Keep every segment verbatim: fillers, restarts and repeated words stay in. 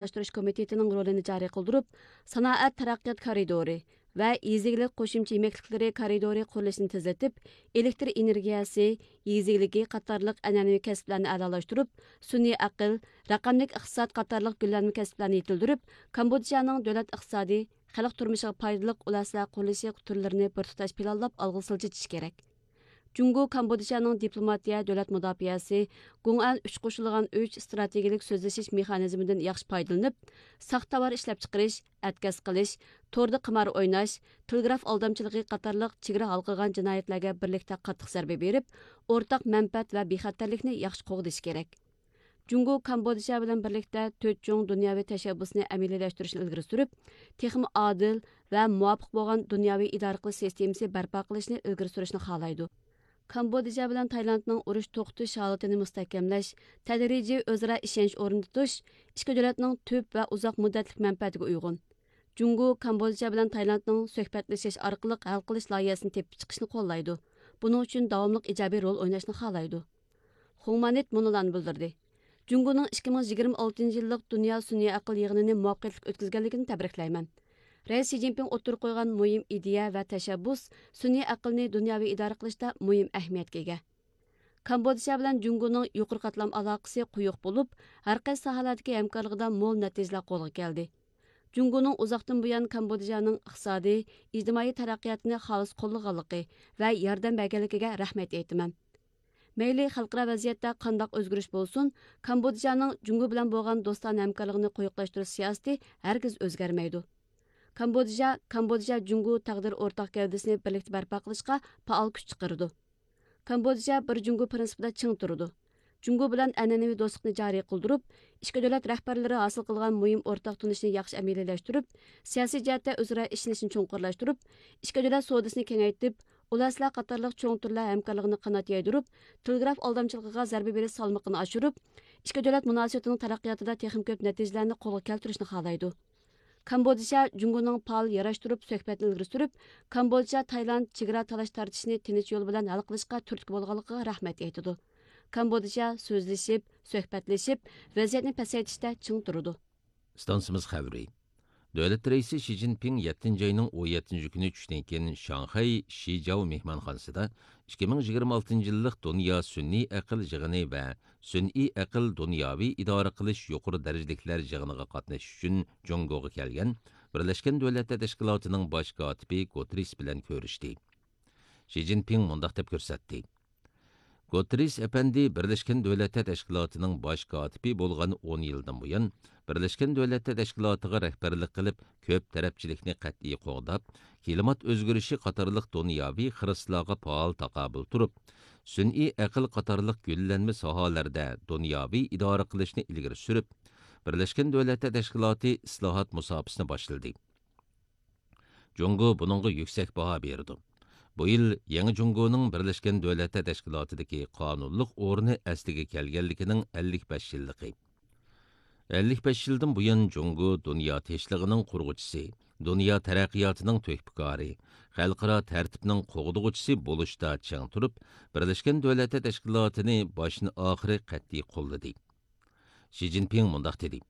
ئورۇنلاشتۇرۇش كومىتېتىنىڭ رولىنى جارى قىلدۇرۇپ، سانائەت تەرەققىيات كارىدورى ۋە يېزا ئىگىلىك قوشۇمچە يېمەكلىكلىرى كارىدورى قۇرۇلۇشىنى تېزلىتىپ، ئېلېكتر ئېنېرگىيەسى، يېزا ئىگىلىكى قاتارلىق ئەنئەنىۋى كەسىپلەرنى ئەلالاشتۇرۇپ، سۈنئىي ئەقىل، رەقەملىك ئىقتىساد قاتارلىق گۈللەنمە كەسىپلەرنى يېتىلدۈرۈپ، كامبودژانىڭ دۆلەت ئىقتىسادى، خەلق تۇرمۇشىغا پايدىلىق ئۇل ئەسلىھە قۇرۇلۇشى تۈرلىرىنى بىر تۇتاش پىلانلاپ ئالغا سىلجىتىش كېرەك. جۇڭگو كامبودژانىڭ دىپلوماتىيە، دۆلەت مۇداپىئەسى، گۇڭئەن ئۈچ قوشۇلغان ئۈچ ئىستراتېگىيىلىك سۆزلىشىش مېخانىزمىدىن ياخشى پايدىلىنىپ، ساختا تاۋار ئىشلەپچىقىرىش، ئەتكەس قىلىش، توردا قىمار ئويناش، تېلېگراف ئالدامچىلىقى قاتارلىق چېگرا ھالقىغان جىنايەتلەرگە بىرلىكتە قاتتىق زەربە بېرىپ، ئورتاق مەنپەئەت ۋە بىخەتەرلىكنى ياخشى قوغدىشى كېرەك. جۇڭگو كامبودژا بىلەن بىرلىكتە تۆت چوڭ دۇنياۋى تەشەببۇسنى ئەمەلىيلەشتۈرۈشنى ئىلگىرى سۈرۈپ، تېخىمۇ ئادىل ۋە مۇۋاپىق بولغان دۇنياۋى ئىدارە قىلىش سىستېمىسى بەرپا قىلىشنى ئىلگىرى سۈرۈشنى خالايدۇ. كامبودژا بىلەن تايلاندنىڭ ئۇرۇش توختىتىش ھالىتىنى مۇستەھكەملەش، تەدرىجىي ئۆزئارا ئىشەنچ ئورنىتىش ئىككى دۆلەتنىڭ تۈپ ۋە ئۇزاق مۇددەتلىك مەنپەئەتىگە ئۇيغۇن. جۇڭگو كامبودژا بىلەن تايلاندنىڭ سۆھبەتلىشىش ئارقىلىق ھەل قىلىش لايىھەسىنى تېپىپ چىقىشنى قوللايدۇ. بۇنىڭ ئۈچۈن داۋاملىق ئىجابىي رول ئويناشنى خالايدۇ. خۇڭمانىت مۇنۇلارنى بىلدۈردى: جۇڭگونىڭ ئىككى مىڭ يىگىرمە ئالتىنچى يىللىق دۇنيا سۈنئىي ئەقىل يىغىنىنى مۇۋەپپەقىيەتلىك ئۆتكۈزگەنلىكىنى تەبرىكلەيمەن. رەئىس شى جىنپىڭ ئوتتۇرىغا قويغان مۇھىم ئىدىيە ۋە تەشەببۇس سۈنئىي ئەقىلنى دۇنياۋى ئىدارە قىلىشتا مۇھىم ئەھمىيەتكە ئىگە. كامبودژا بىلەن جۇڭگونىڭ يۇقىرى قاتلام ئالاقىسى قويۇق بولۇپ، ھەر قايسى ساھەلەردىكى ھەمكارلىقىدا مول نەتىجىلەر قولغا كەلدى. جۇڭگونىڭ ئۇزاقتىن بۇيان كامبودژانىڭ ئىقتىسادىي، ئىجتىمائىي تەرەققىياتىنى خالىس قوللىغانلىقى ۋە ياردەم بەرگەنلىكىگە رەھمەت ئېيتىمەن. مەيلى خەلقئارا ۋەزىيەتتە قانداق ئۆزگىرىش بولسۇن، كامبودژانىڭ جۇڭگو بىلەن بولغان دوستانە ھەمكارلىقىنى قويۇقلاشتۇرۇش سىياسىتى ھەرگىز ئۆزگەرمەيدۇ. كامبودژا، كامبودژا جۇڭگو تەقدىر ئورتاق گەۋدىسىنى بىرلىكتە بەرپا قىلىشقا پائال كۈچ چىقىرىدۇ. كامبودژا بىر جۇڭگو پىرىنسىپىدا چىڭ تۇرىدۇ. جۇڭگو بىلەن ئەنئەنىۋى دوستلۇقنى جارى قىلدۇرۇپ، ئىككى دۆلەت رەھبەرلىرى ھاسىل قىلغان مۇھىم ئورتاق تونۇشنى ياخشى ئەمەلىيلەشتۈرۈپ، سىياسىي جەھەتتە ئۆزئارا ئىشىنىشنى چوڭقۇرلاشتۇرۇپ، ئىككى دۆلەت سودىسىنى كېڭەيتىپ، ئۇل ئەسلىھە قاتارلىق چوڭ تۈرلەر ھەمكارلىقىنى قانات يايدۇرۇپ، تېلېگراف ئالدامچىلىقىغا زەربە بېرىش سالمىقىنى ئاشۇرۇپ، ئىككى دۆلەت مۇناسىۋىتىنىڭ تەرەققىياتىدا تېخىمۇ كۆپ نەتىجىلەرنى قولغا كەلتۈرۈشنى خالايدۇ. كامبودژا جۇڭگونىڭ پائال ياراشتۇرۇپ سۆھبەتنى ئىلگىرى سۈرۈپ، كامبودژا تايلاند چېگرا تالاش تارتىشىنى تىنچ يول بىلەن ھەل قىلىشقا تۈرتكە بولغانلىقىغا رەھمەت ئېيتىدۇ. كامبودژا سۆزلىشىپ، سۆھبەتلىشىپ، ۋەزىيەتنى پەسەيتىشتە چىڭ تۇرىدۇ. ئىستانسىمىز خەۋىرى. دۆلەت رەئىسى شى جىنپىڭ يەتتىنچى ئاينىڭ ئون يەتتىنچى كۈنى چۈشتىن كېيىن شاڭخەي شىجاۋ مېھمانخانىسىدا ئىككى مىڭ يىگىرمە ئالتىنچى يىللىق دۇنيا سۈنئىي ئەقىل يىغىنى ۋە سۈنئىي ئەقىل دۇنياۋى ئىدارە قىلىش يۇقىرى دەرىجىلىكلەر يىغىنىغا قاتنىشىش ئۈچۈن جۇڭگوغا كەلگەن بىرلەشكەن دۆلەتلەر تەشكىلاتىنىڭ باش كاتىپى گۇتېررېس بىلەن كۆرۈشتى. شى جىنپىڭ مۇنداق دەپ كۆرسەتتى: گۇتېررېس ئەپەندى بىرلەشكەن دۆلەتلەر تەشكىلاتىنىڭ باش كاتىپى بولغان ئون يىلدىن بۇيان، بىرلەشكەن دۆلەتلەر تەشكىلاتىغا رەھبەرلىك قىلىپ، كۆپ تەرەپچىلىكنى قەتئىي قوغداپ، كىلىمات ئۆزگىرىشى قاتارلىق دۇنياۋى خىرىسلارغا پائال تاقابىل تۇرۇپ، سۈنئىي ئەقىل قاتارلىق گۈللەنمە ساھەلەردە دۇنياۋى ئىدارە قىلىشنى ئىلگىرى سۈرۈپ، بىرلەشكەن دۆلەتلەر تەشكىلاتى ئىسلاھات مۇساپىسىنى باشلىدى. جۇڭگو بۇنىڭغا يۈكسەك باھا بېرىدۇ. بۇ يىل يېڭى جۇڭگونىڭ بىرلەشكەن دۆلەتلەر تەشكىلاتىدىكى قانۇنلۇق ئورنى ئەسلىگە كەلگەنلىكىنىڭ ئەللىك بەش يىللىقى. ئەللىك بەش يىلدىن بۇيان جۇڭگو دۇنيا تىنچلىقىنىڭ قۇرغۇچىسى، دۇنيا تەرەققىياتىنىڭ تۆھپىكارى، خەلقئارا تەرتىپنىڭ قوغدىغۇچىسى بولۇشتا چىڭ تۇرۇپ، بىرلەشكەن دۆلەتلەر تەشكىلاتىنى باشتىن ئاخىرى قەتئىي قوللىدى. شى جىنپىڭ مۇنداق دېدى: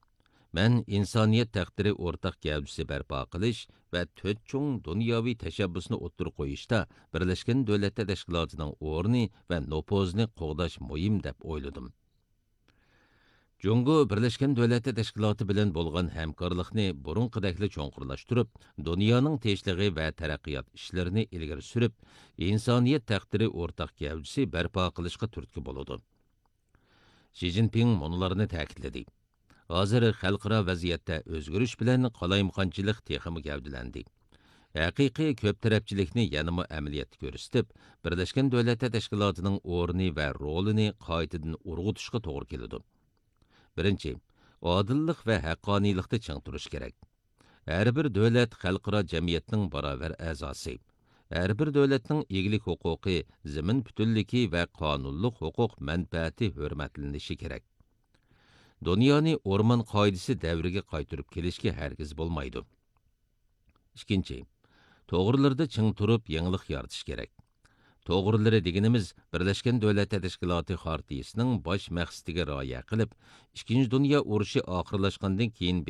مەن ئىنسانىيەت تەقدىرى ئورتاق گەۋدىسى بەرپا قىلىش ۋە تۆت چوڭ دۇنياۋى تەشەببۇسنى ئوتتۇرىغا قويۇشتا بىرلەشكەن دۆلەتلەر تەشكىلاتىنىڭ ئورنى ۋە نوپۇزىنى قوغداش مۇھىم دەپ ئويلىدىم. جۇڭگو بىرلەشكەن دۆلەتلەر تەشكىلاتى بىلەن بولغان ھەمكارلىقنى بۇرۇنقىدەكلا چوڭقۇرلاشتۇرۇپ، دۇنيانىڭ تىنچلىقى ۋە تەرەققىيات ئىشلىرىنى ئىلگىرى سۈرۈپ، ئىنسانىيەت تەقدىرى ئورتاق گەۋدىسى بەرپا قىلىشقا تۈرتكە بولىدۇ. شى جىنپىڭ مۇنۇلارنى تەكىتلىدى: ھازىر خەلقئارا ۋەزىيەتتە ئۆزگىرىش بىلەن قالايمىقانچىلىق تېخىمۇ گەۋدىلەندى. ھەقىقىي كۆپ تەرەپچىلىكنى يەنىمۇ ئەمەلىيەتتە كۆرسىتىپ، بىرلەشكەن دۆلەتلەر تەشكىلاتىنىڭ ئورنى ۋە رولىنى قايتىدىن ئۇرغۇتۇشقا توغرا كېلىدۇ. بىرىنچى، ئادىللىق ۋە ھەققانىيلىقتا چىڭ تۇرۇش كېرەك. ھەر بىر دۆلەت خەلقئارا جەمئىيەتنىڭ باراۋەر ئەزاسى. ھەر بىر دۆلەتنىڭ ئىگىلىك ھوقۇقى، زېمىن پۈتۈنلۈكى ۋە قانۇنلۇق ھوقۇق مەنپەئەتى ھۆرمەتلىنىشى كېرەك. دۇنيانى ئورمان قائىدىسى دەۋرىگە قايتۇرۇپ كېلىشكە ھەرگىز بولمايدۇ. ئىككىنچى، توغرىلىرىدا چىڭ تۇرۇپ يېڭىلىق يارىتىش كېرەك. توغرىلىرى دېگىنىمىز بىرلەشكەن دۆلەتلەر تەشكىلاتى خارتىيىسىنىڭ باش مەقسىتىگە رىئايە قىلىپ، ئىككىنچى دۇنيا ئۇرۇشى ئاخىرلاشقاندىن كېيىن